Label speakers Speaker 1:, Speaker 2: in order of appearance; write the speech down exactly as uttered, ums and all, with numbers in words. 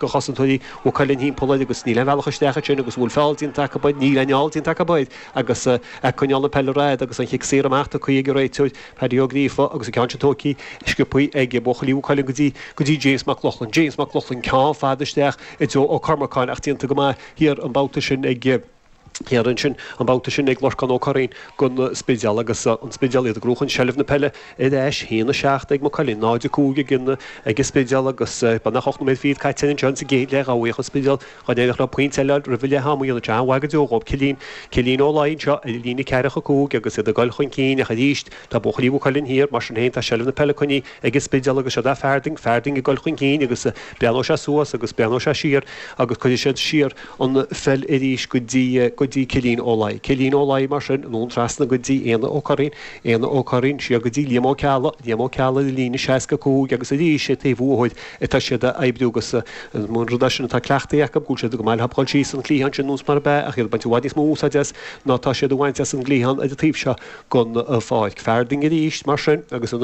Speaker 1: De chosantóirí Mhaigh Cuilinn thimpeall air agus níl aon bhealach isteach ansin agus bhfuil feall déanta acu air, níl aon fheall déanta acu air agus ag coinneáil na peile ar fhad agus an chic saor amach tugtha ag an réiteoir Paddy Ó Gríofa agus an ceann sin tógtha sciobtha ag buachaillí Mhaigh Cuilinn go dtí go dtí James Mac Lochlainn. James Mac Lochlainn ceann fada isteach i dtreo Ó Cormacáin ach déanta go maith thiar an babhta sin ag Thiar ansin an babhta sin ag Lorcán Ó Curraoin don Spidéal agus an Spidéal iad ag gnóchan seilbh na peile ar ais, a haon a seacht ag Maigh Cuilinn, náid a cúig ag an ag an Spidéal agus beagnach ocht nóiméad fichead caite anseo sa gcéad leath ghabhaíodh an Spidéal dá n-éireodh leo pointe eile a fháil roimh leath ama dhéanamh sé an-mhaith go deo dhóibh. Cillín Cillín Ó Laoi anseo ar líne ceathracha cúig agus iad ag dul chun cinn ach arís tá buachaillí Mhaigh Cuilinn thiar mar sin féin tá seilbh na peile coinnithe ag an Spidéal agus siod é Farding Farding ag dul chun cinn agus breathnóidh sé suas agus breathnóidh sé siar agus cuirfidh siad siar an pheil arís go dtí go dtí Cillín Ó Laoi. Cillín Ó Laoi mar sin, anonn trasna go dtí Éanna Ó Curraoin, Éanna Ó Curraoin siar go dtí Liam Ó Ceallaigh, Liam Ó Ceallaigh ar líne seasca cúig agus arís ag taobh uathu atá siad a oibriú agus an rud é sin atá cleachtaithe acu, go bhfuil siad go maith le dhul síos an cliathán sin nós mar ab ea ach iad ag baint i bhfad níos mó úsáid as ná tá siad a bhaint as an gcliathán ar an taobh seo den pháirc. Farding arís mar sin agus an